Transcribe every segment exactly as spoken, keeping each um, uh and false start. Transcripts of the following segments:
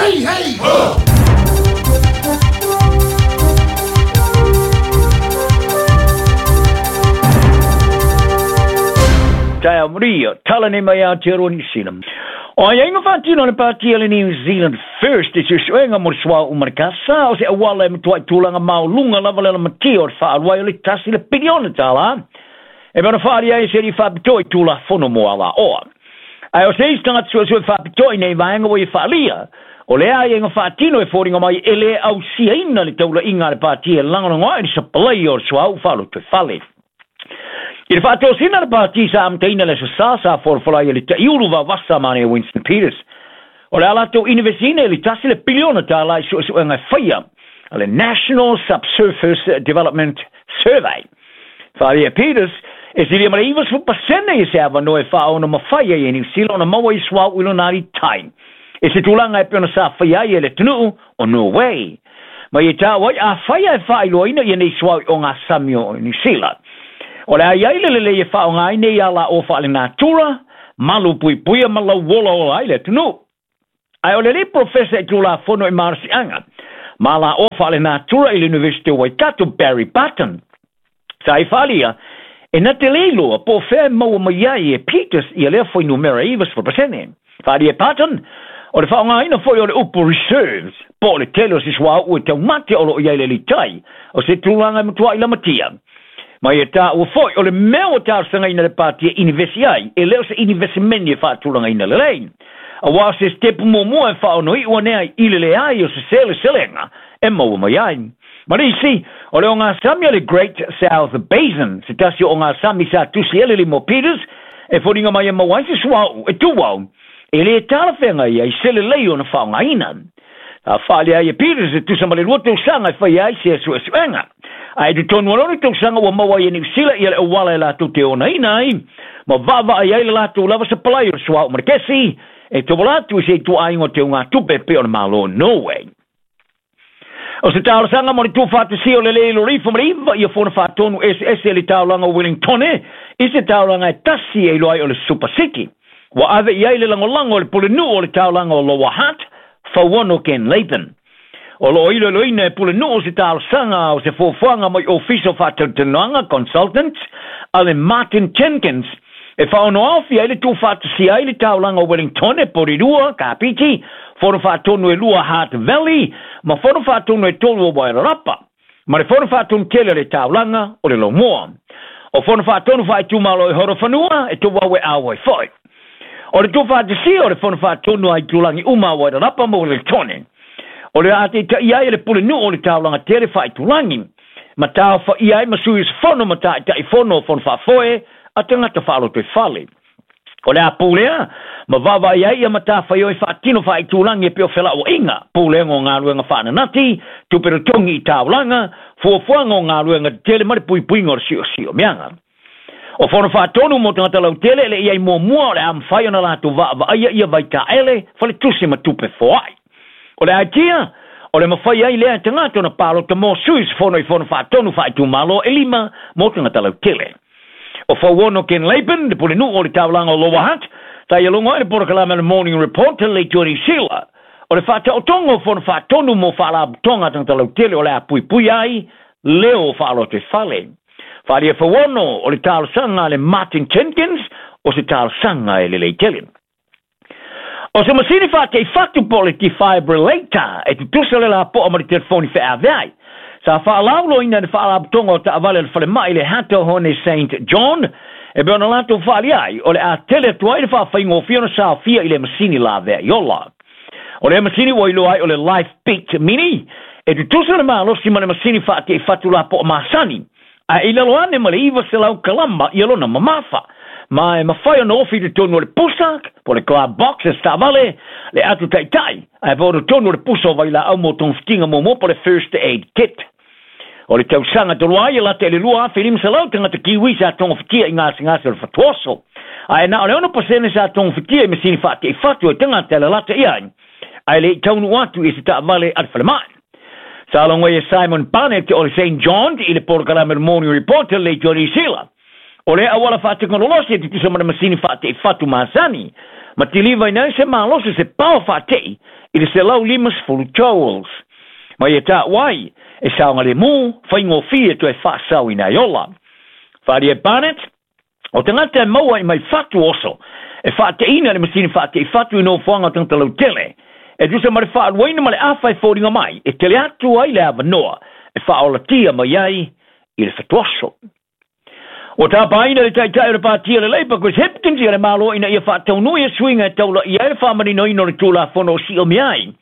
Hey, hey, ho! Taia Maria, tala nei mai Aotearoa New Zealand. O ai ainga whātino le pāti le New Zealand First e suesuega mo le suauu ma le kasā o se auala e matuai tulaga maoluga lava le lamatia o le faaluai o le tasi le piliona tālā. E pei ona faaali ai se alii faapitoa i tulafono mo alaoa. Ae o se isi tagata suesue faapitoa i nei vaega ua ia faalia, o le aiaiga faatino e foliga mai e lē ausiaina le taulaiga a le pāti e lagolago ai le sapalai o le suauu faalotoifale. I le faatosina le pāti sa amataina le aso sa sa folafola ai e le ta'iulu vavasa ma Winston Peters. O le a latou inivesiina i le tasi le piliona tālā i su'esu'ega e faia a le National Subsurface Development Survey. Faalia Peters e silia ma le ivasefulu pasene i se avanoa e faaono mafai ai e Niu Sila ona maua i suauu i lona alitai. E se tulaga e pei ona sa faia ai e le atunuu o Norway. Ma ia ta'u ai afai e faailoaina ia nei suauu i ogasami o Niu Sila. O le ai ai le lelei e faaaoga ai nei alaoa faalenatura, malu puipuia ma lauolaola ai le atunuu. Ae o le alii profesa i tulafono i malosiaga ma alaoa faalenatura i le University o Waikato Barry Barton. Sa i faalia, e na te lē iloa po o fea e maua mai ai e Peters ia lea fuainumera e ivasefulu pasene. Faalia e Barton, o le faaaogaina foi o le upu reserves, po o le tele o se suauu e taumate o loo i ai le alitai, o se tulaga e matuai lamatia. Ma ia tāua foi o le mea ua talosagaina le pāti e inivesi ai, e lē o se inivesimeni e faatulagaina lelei. Auā o se sitepu muamua e faaonoi'u ane ai i le leai o se seleselega e maua mai ai. Ma le isi, o le ogasami a le Great South Basin, se tasi o ogasami sa tusi ai le lima o Peters, e foliga mai e maua ai se suauu e tuau, e lē talafeagai ai se lelei ona faaaogaina. Sa faalia ai e Peters e tusa ma le lua tausaga e faia ai se suesuega. Ae totonu o lona tausaga ua maua ai e Niu Sila ia le auala e latou te onaina ai, ma vaavaai ai le latou lava sapalai o le suauu ma le kesi, e tauala atu i se ituaiga o teugatupe e pei o le Malo o Norway. O se talosaga mo le tuufaatasia o le lē iloilo ifo ma le iva ia fono faatonu eseese e le taulaga o Wellingtone i se taulaga e tasi e iloa ai o le Super City. Ua ave i ai le lagolago a le pulenuu o le taulaga o Lower Hutt, Fauono Ken Laban. O loo iloiloina e pulenuu se talosaga o se fuafuaga mai ofisa o faatalatalanoaga consultants a le Martin Jenkins e faaonoaofi ai le tuufaatasia ai le taulaga o Wellingtone, Porirua, Kapiti, fono faatonu e lua Hutt Valley ma fono faatonu e tolu o Wairarapa, ma le fono faatonu tele o le taulaga o le Laumua. O fono faatonu faaitumalo i Horowhenua e tauau e auai foi. O le tuufaatasia o le fono faatonu a itulagi uma a Wairarapa ma Wellingtone. O le a taitaia ai e le pulenuu o le taulaga tele faaitulagi, ma taofaia ai ma sui usufono ma taitaifono o fono faafoe a tagata faalotoifale. O le a pulea, ma vaavaai ai ia matafaioi faatino faaitulagi e pei o felauaiga, pulega o galuega faananati, tupe totogi i taulaga, fuafuaga o galuega tetele ma le puipuiga o le siosiomiaga. O fono faatonu mo tagata lautele e le i ai muamua o le a mafai ona latou vaavaaia ia vaitaele, faletusi ma tupe foai. O le aitia, o le mafai ai lea e tagata ona palota mo sui usufono i fono faatonu faaitumalo e lima mo tagata lautele. O Fauono Ken Laban, le pulenuu o le taulaga o Lower Hutt, sa ia logo ai le polokalame o le Morning Report a le Leitio Niu Sila. O le faataotoga o fono faatonu mo faalapotopotoga a tagata lautele o le a puipui ai leo o faalotoifale. Faalia Fauono o le talosaga a le Martin Jenkins o se talosaga e lelei tele. O se masini faate'i fatu po o le defibrillator e tutusa le lapo'a ma le telefoni feaveai. Sa faalauiloina e le faalapotopotoga o taavale a le falemai le Hato Hone Saint John e pei ona latou faalia ai o le a tele atu ai le faafaigofie ona saofia i le masini laveai ola. O le masini ua iloa ai o le Life Beat Mini e tutusa le malosi ma le masini faate'i fatu lapo'a masani. Ae i lalo ane ma le iva selau kalama ia lona mamafa. Ma e mafai ona ofi i totonu o le pusa, po o le glove box e taavale, le atu ta'ita'i, ae po o totonu o le pusa o vailaau mo togafitiga muamua po o le first aid kit. O le tausaga talu ai e lata i le lua afe lima selau tagata Kiwi sa togafitia i gasegase o le fatuoso. Ae na o le ono pasene sa togafitia i masini faate'i fatu e tagata e lalata i ai, ae le i taunuu atu i se taavale a le falemai. Sa logo ai e Simon Barnett o le Saint John i le polokalame Morning Report a le Leitio Niu Sila. O le auala faatekonolosi e tutusa ma le masini faate'i fatu masani. Ma tiliva ina se malosi se pao faate'i i le selau lima sefulu joules. Ma ia taua ai, e saogalemu, faigofie toe faasaoina ai ola. Faaalia e Barnett, o tagata e maua i mai fatu oso, e faateina le masini faatei fatu i nofoaga o tagata lautele, e tusa ma le faaluaina ma le afa e foliga mai, e tele atu ai le avanoa, e faaolatia mai ai i le fatuoso. Ua tapaina le taitai o le patia le Labour Chris Hipkins ia le Malo ina ia faataunui e suiga e taulaia ai le faamaninoina o le Tulafono o Siomai ai.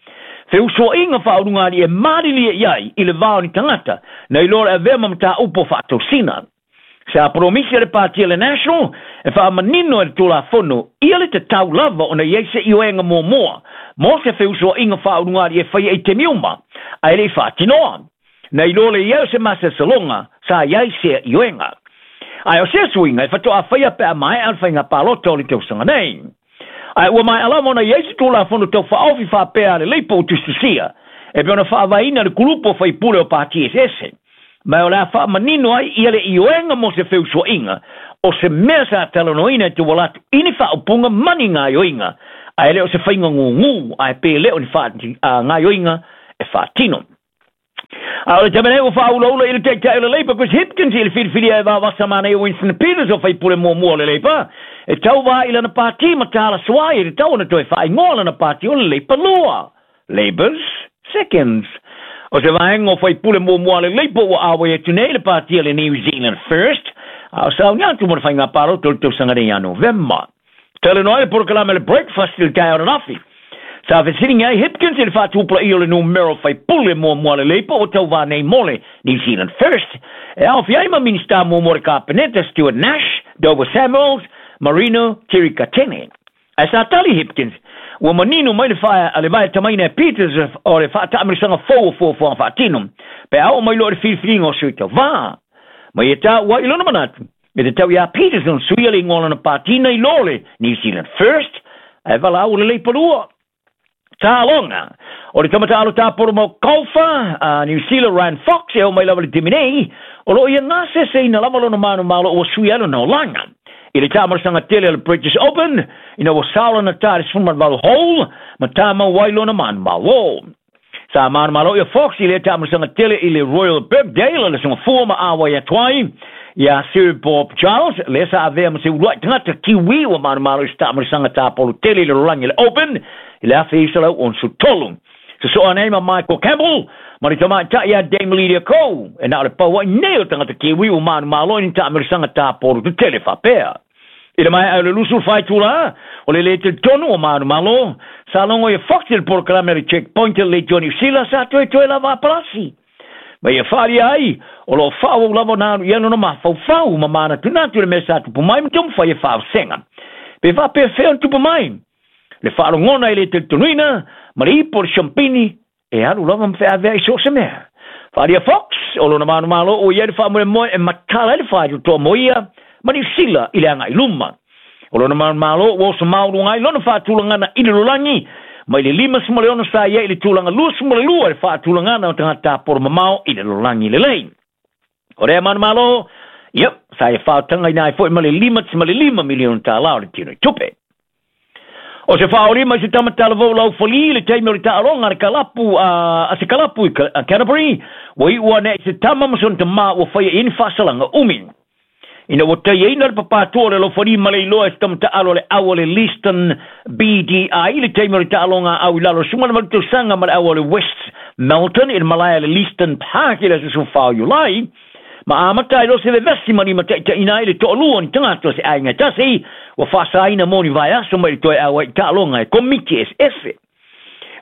Feusoaiga faaulugali e malilie i ai i le va o ni tagata na iloa le avea ma mataupu o faatosina. Sa promisi le patia le National e faamanino e le Tulafono ia le tatau lava ona i ai se ioega muamua mo se feusoaiga faaulugali e faia i taimi uma, ae le i faatinoa. Na iloa le i ai o se masalosaloga sa i ai sea ioega. Ae o sea suiga e faatoa faia pe a maea le faiga palota o le tausaga nei. Ae ua maea lava ona i ai se Tulafono tau faaofi faapea a le Leipa ua tusitusia, e pei ona faavaeina le kulupu o faipule o pati eseese. Ma o le a faamanino ai ia le ioega mo se feusoaiga, o se mea sa talanoaina e tauala atu i ni faaupuga ma ni gaoioiga, ae le o se faiga gugū, ae pe le o ni gaoioiga e faatino. A o le taimi nei ua faaulaula i le taitai o le Labour Chris Hipkins i le filifilia e vavasa manaia Winston Peters o faipule muamua o le Labour e tauvā i lana pati ma tala suai e tatau ona toe faaigoa lana pati o le Labour Lua, Labour's Seconds. O se vaega o faipule muamua le Labour ua auai atu nei le pati o le New Zealand First, a o sauni atu mo le faiga palota o le tausaga nei ia Novema. Talanoa ai le polokalame le Breakfast i le taeao ananafi. Sa fesiligia ai Hipkins i le faatupulaia o le numera o faipule muamua le Labour ua tauvā nei mo le New Zealand First, e aofia ai ma Minista muamua o le Kapeneta Stuart Nash, Dover Samuels, Marino Tirikatene. Ae sa tali Hipkins, ua manino mai le fae a le vae tamaina e Peters o le faataamilosaga fou o fuafuaga faatino, pe a oo mai loa le filifiliga o sui tauvā. Ma ia taua i lona manatu, e tatau iā Peters ona suia le igoa o lana pati nai lo le New Zealand First, ae valaau le Leipa Lua. Taaloga. O le tama taalo tapolo mau kaufa a New Zealand Ryan Fox e oo mai lava i le taimi nei, o loo ia gaseseina lava lona manumalo ua sui ai lona olaga. I le taamilosaga tele o le British Open, ina ua sao lana tā i le sefulu ma le valu hole, ma tamau ai lona manumalo. Sa manumalo ia Fox i lea taamilosaga tele i le Royal Birkdale le Aso Gafua ma auai atu ai ia Sir Bob Charles, lea sa avea ma se uluai tagata Kiwi ua manumalo i se taamilosaga tapolo tele i le lalolagi le Open i le afe iva selau onosefulu tolu. Sosoa nei ma Michael Campbell, ma le tamaitai ia Dame Lydia Ko, e na o le pau ai nei o tagata Kiwi ua manumalo i ni taamilosaga tapolo tetele faapea. I le maea o le luasefulu fa itulā, o le lē talitonu o manumalo, sa logo ia Fox i le polokalame le Checkpoint i le Leitio Niu Sila sa toetoe lava a palasi. Ma ia faaalia ai, o loo faaauau lava ona alu i ai lona mafaufau ma manatunatu i le mea sa tupu mai ma taumafai e faavasega. Pe faapefea ona tupu mai? Le faalogona e le talitonuina ma le ipu o le siampini e alu lava ma feaveai i so o se mea. Faaalia Fox, o lona manumalo ua i ai le faamoemoe e matala ai le faitotoa mo ia ma Niu Sila i le agai luma. O lona manumalo ua oso mauluga ai lona faatulagana i le lalolagi mai le lima le ono sa i ai i le tulaga luasefulu ma le lua i le faatulagana o tagata tapolo mamao i le lalolagi lelei. O lea manumalo, ia, sa ia faatagaina ai foi ma le lima ma le lima miliona tālā o le tino i tupe. O se faaolima i se tamatalavou laufali le taimi o le taaloga a le kalapu a se kalapu i Canterbury, ua iu ane i se tama ma sona tamā ua faia i ai ni faasalaga umi. Ina ua taiaina le papātua o le laufali ma le iloa e se tamataalo o le au o le Leeston B D I le taimi o le taaloga au i lalo o le sefulu ma le valu tausaga ma le au o le West Melton i le malae a le Leeston Park i le aso sefulufa o Iulai, ma amata ai loa se vevesi ma limataitaiina ai le toalua o ni tagata o se aiga e tasi ua faasaina mo ni vaiaso mai le toe auai i taaloga e komiti eseese.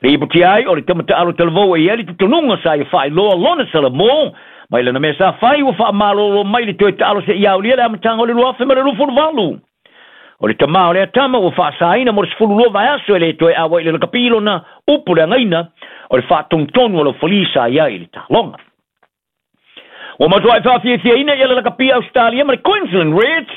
Lipotia ai o le tamataalo talavou e i ai le talitonuga sa ia faailoa lona salamō mai lana mea sa fai ua faamalōlō mai le toe taalo seia aulia le amataga o le luafe ma le luasefulu valu. O le tamā o lea tama ua faasaina mo le sefulu lua vaiaso e le toe auai i le lakapi lona upu leagaina o le faatonutonu o laufalī sa i ai i le taaloga. Ua matuai faafiafiaina ia le lakapi Australia ma le Queensland Reds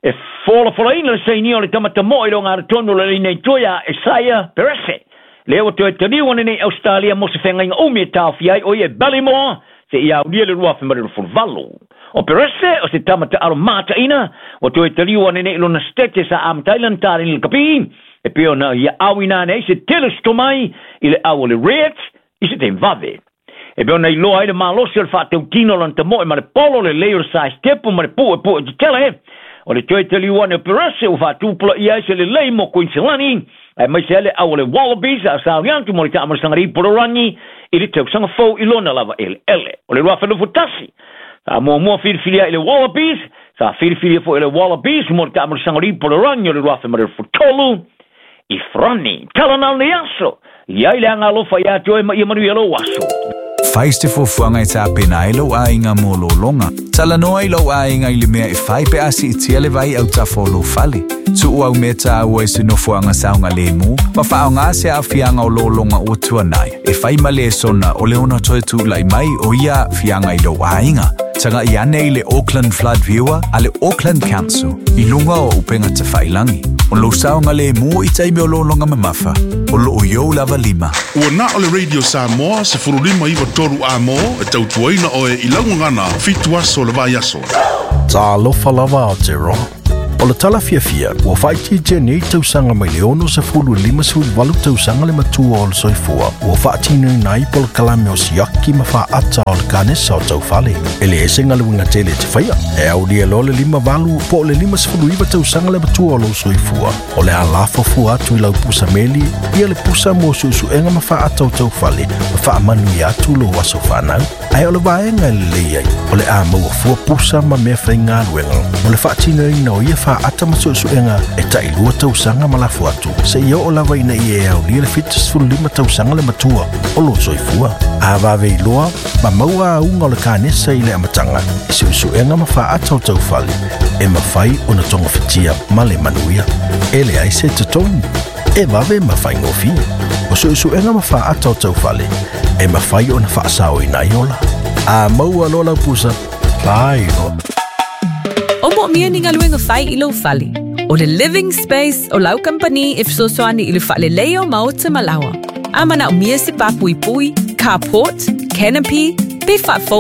e folafolaina le sainia o le tamatamoʻo i le ogatotonu o le laina i tua ia Izaia Perese. Lea ua toe taliu ane nei Australia mo se feagaiga umi e taofia ai o ia e Ballymore seia aulia le luafe ma le luasefulu valu. O Perese o se tama taalo mataina ua toe taliu ane nei lona sitete sa amataina taleni lakapi E pei ona ia auina ane ai se tele o se tomai i le au o le Reds i se taimi vave. E pei ona iloa ai le malosi o le faatautino o lona tamoe ma le polo lelei o le saesitepu ma le puepu'e tetele. O le toe taliu ane o Perese ua faatupulaia ai se lelei mo Kuiniselani, aemaise ai le au o le Wallabies a o saoli atu mo le taamailosaga lipoloragi i le tausaga fou i lona lava eleele. O le lua afe luasefulu tasi sa muamua filifilia i le Wallabies, sa filifilia foi e le Wallabies mo le taamailosaga lipoloragi o le lua afe ma le tolu i Farani. Tala na o lenei aso, i ai le agalofa ia te oe ma ia manuia lou aso. Fai se fuafuaga e tapena ai lou aiga mo lologa. Talanoa i lou aiga i le mea e fai pe a siitia le vai i autafa o lou fale. Tuu au mea taua i se nofoaga saogalemu ma faaaoga se aafiaga o lologa ua tuanai e fai ma lesona o le ono toe tulai mai o ia aafiaga i lou aiga. Tagai ane i le Auckland Flood Viewer a le Auckland Council i luga o upega tafailagi. O lou saogalemu i taimi o lologa mamafa, o loo i ou lava lima. Ua na o le Radio Samoa sefululima iva tolu A M e tautuaina oe i lau gagana fitu aso o le vaiaso. Talofa lava Aotearoa. O le tala fiafia, ua faaitiitia nei tausaga mai le ono sefulu i lima sefulu valu tausaga le matua o le soifua, ua faatinoina ai polokalame o siaki ma faata o le kanesa o taufale. E leai se galuega tele e te faia. E aulia loa le lima valu po o le lima sefulu iva tausaga le matua o lou soifua. O le a lafo fua atu i lau pusa meli, ia le pusa mo suesuega ma faata o taufale, ma faamanuia atu lou aso fanau. Ae o le vaega e lelei ai, o le a maua fua pusa ma mea faigaluega mo le faatinoina o ia faata ma suesuega e tailua tausaga ma lafo atu, seia oo lava ina ia e aulia le fitu sefulu lima tausaga le matua o lou soifua. A vave iloa ma maua auga o le kanesa i le amataga i suesuega ma faata o taufale, e mafai ona togafitia ma le manuia. E leai se totogi, e vave ma faigofie. O suesuega ma faata o taufale e mafai ona faasaoina ai ola. A maua loa lau pusa, fai loa. O moomia ni galuega fai i lou fale. O le Living Space o lau kamupani e fesoasoani i le faaleleia o maota ma laoa. A manaomia se papuipui, carport, canopy, pe faafou.